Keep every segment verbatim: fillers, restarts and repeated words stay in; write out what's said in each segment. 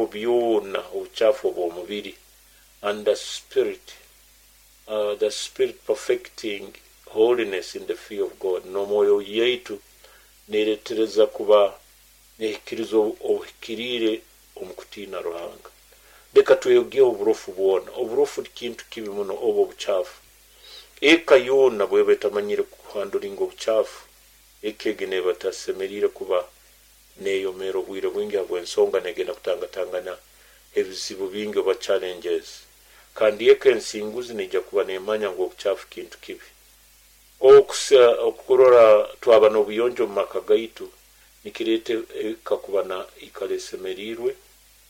Byona obucaafu obw'omubiri, and the spirit uh, the spirit perfecting holiness in the fear of God. N'omwoyo yaitu neretereza kuba nehikiriza obuhikiriire omu kutiina Ruhanga. Leka tweyogeho oburofu bwona. Oburofu kintu kibi muno, oba obucaafu. Eka yoona bweba etamanyire kuhandlinga obucaafu, eka egi neeba etasemeriire kuba neeyomera obwire bwingi, habw'ensonga negenda kutangatangana ebizibu bingi oba challenges. Kandi eka ensinguzi neija kuba nemanya ngu obucaafu kintu kibi. Okurora twaba n'obuyonjo omu maka gaitu nikireeta eka kuba na ikara esemeriirwe.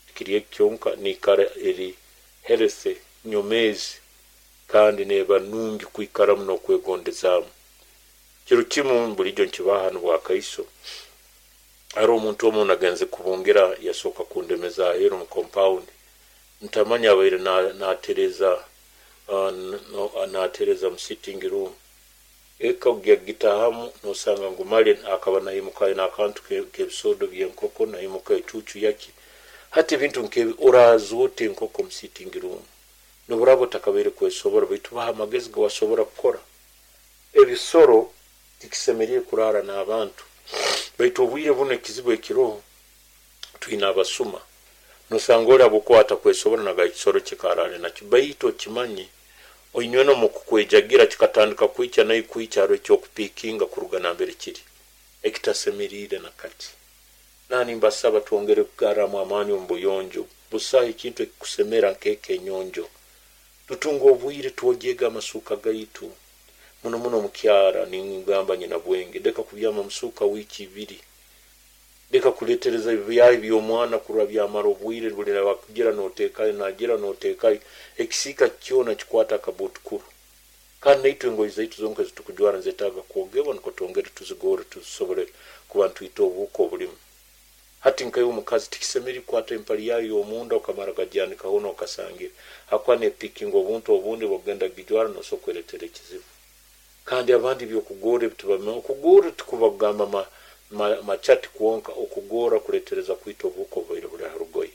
Tikiri eki kyonka, niikara eri healthy, nyomeezi, kandi neeba nungi kwikaramu n'okwegondezaamu. Kiro kimu, bulijo nkibaha hanu bwakaiso, haroho omuntu omu nagenze kubungira, yasooka kundemeza aheeru mu compound. Ntamanya abaire natereza natereza mu sitting room. Eka kugitahamu nosanga ngu mali akaba naimuka aine akantu k'ebisodo by'enkoko, naimuka ecuucu yaki. Hati ebintu nkebi, oraaza ota enkoko mu sitting room? Noburaba otakabaire kwesobora, baitu baha amagezi gewasobora kukora. Ebisoro tikisemeriire kuraara n'abantu, baitu obwire bunu ekizibu ekiroho, twine abasuma. Nosanga oli habwokuba atakwesobora nagaba ekisoro kye karaale nakyo, baitu okimanye oinywena omu kukwejagira kikatandika kwikya nawe kwikya, haroho ekyokupiikinga kuruga nambere kiri ekitasemeriire. Na kati nani mbasaba twongere kugarramu amaani omu buyonjo. Busaho ekintu ekikusemera nk'eka enyonjo. Tutunga obwire twogyege amasuuka gaitu, muno muno omukyara. Ningamba nyina bwenge, leka kubyama musuuka wiiki ibiri. Leka kuletereza ebyahi by'omwana kurora byamara obwire. Buli wakugira noteekayo, nagira noteekayo, ekisiika kyona kikwata akabutukuru. Kandi naitwe engoye zaitu zonka ezitukujwara nzetaaga kwogebwa, nukwo twongere tuzigorre, tusobole kuba ntwita obuhuka obulimu. Hati nkaiwe omukazi, tikisemeriire kukwata empali yayo y'omunda okamara gagyanika hoona okasangira, hakuba nepiikinga obuntu obundi. Bwokugenda kugijwara nosobora kweretera ekizibu. Kandi abandi ebyokugorra ebi tibabimanya. Okugorra tikuba kugamba machati kwonka. Okugorra kuletereza kwita obuhuka obubaire buli ha rugoye.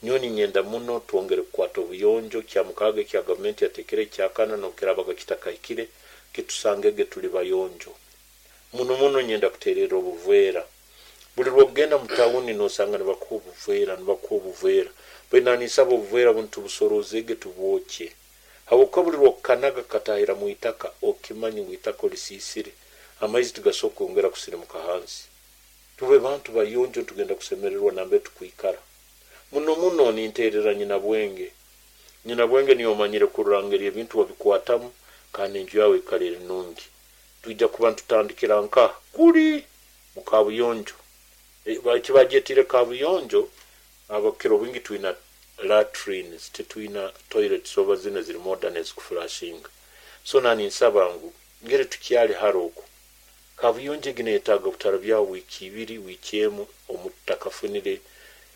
Nyowe ninyenda muno twongere kukwata obuyonjo. Kyamukaaga ekya gavumenti yateekere ekyakana, nobukirabaga kitakahikire, kitusangege tuli bayonjo. Muno muno nyenda kutererra obuveera. Buli lwokugenda mu tawuni nosanga nibakuha obuveera, nibakuha obuveera. Baitu naninsaba obuveera bunu tubusorozege, tubwokye, habwokuba buli lwokukanaga katahira mu itaka, okimanye ngu itaka olisiisire, amaizi tigasobora kwongera kusirimuka hansi. Tube bantu bayonjo, ntugenda kusemererwa nambere tukwikara. Muno muno ninterera nyina bwenge. Nyina bwenge niyo omanyire kurora ngeri ebintu wabikwatamu, kandi enju yawe ikara eri nungi. Twija kuba ntutandikira nkaha kuli mu kabuyonjo. Ekibagyetiire kabuyonjo, abakukira obwingi twina latrines, titwina toilets oba zinu eziri modern ezikuflushinga. So naninsaba ngu ngeri tukyali hara oku, kabuyonjo egi neyetaaga butarabyaho wiiki ibiri, wiiki emu, omutakafunire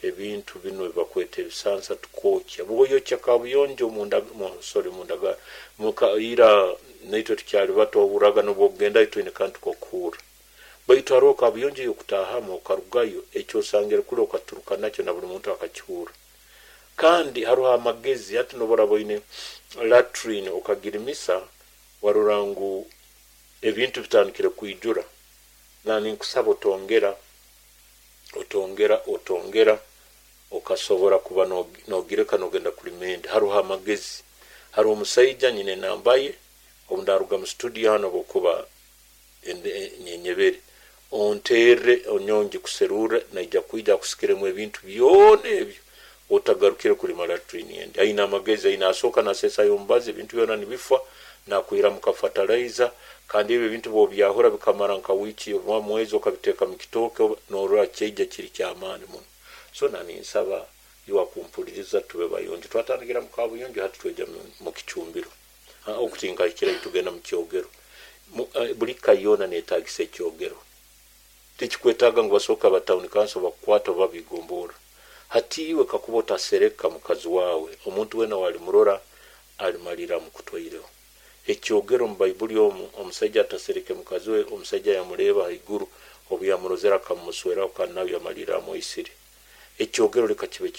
ebintu binu ebibakweta ebisansa tukwokya. Bwoyokya kabuyonjo munda, sorry, mundaga ira naitwe tukyali bato, ohurraga nobwokugendayo twine kantu kokuhurra. Baitu haroho kabuyonjo eyokutaahamu okarugayo, ekyosangire kuli okaturuka nakyo na buli muntu akakihurra. Kandi haroho amagezi. Hati noburaba oine latrine okagirimisa, warora ngu ebintu bitandikire kwijura, naninkusaba otongera, otongera, otongera, okasobora kuba nogireka nogenda kulima endi. Haroho amagezi. Haroho omusaija nyine enamba ye, obu ndaruga mu studio hanu, obwokuba nyenyebere, onterre, nyowe ngikuserurre, naija kwija akusikiremu ebintu byona ebyo, otagarukire kulima latrine endi. Aine amagezi, aine asooka nasesayo omubazi, ebintu byona nibifa, nakwihiramu ka fertilizer. Kandi ebyo ebintu bwobyahura bikamara nka wiiki oba mwezi, okabiteeka mu kitooke, norora kyaija kiri kyamaani muno. So naninsaba iwe akumpuliriza, tube bayonjo. Twatandikira mu kabuyonjo, hati tweja mu kicumbiro. Okutinka tugenda mu kyogero. Buli ka yoona netagisa ekyogero. Tikikwetaaga ngu basooke aba town council bakukwata oba bigomboora. Hati iwe kakuba otasereka mukazi wawe, omuntu weena walimurora alimalira amukutwaireho. Ekyogero, mu Baibuli omu, omusaija atasereke mukazi we, omusaija yamureeba haiguru, obu yamurozere akamusweraho, kandi nawe yamalira amwisire. Ekyogero leka kibe.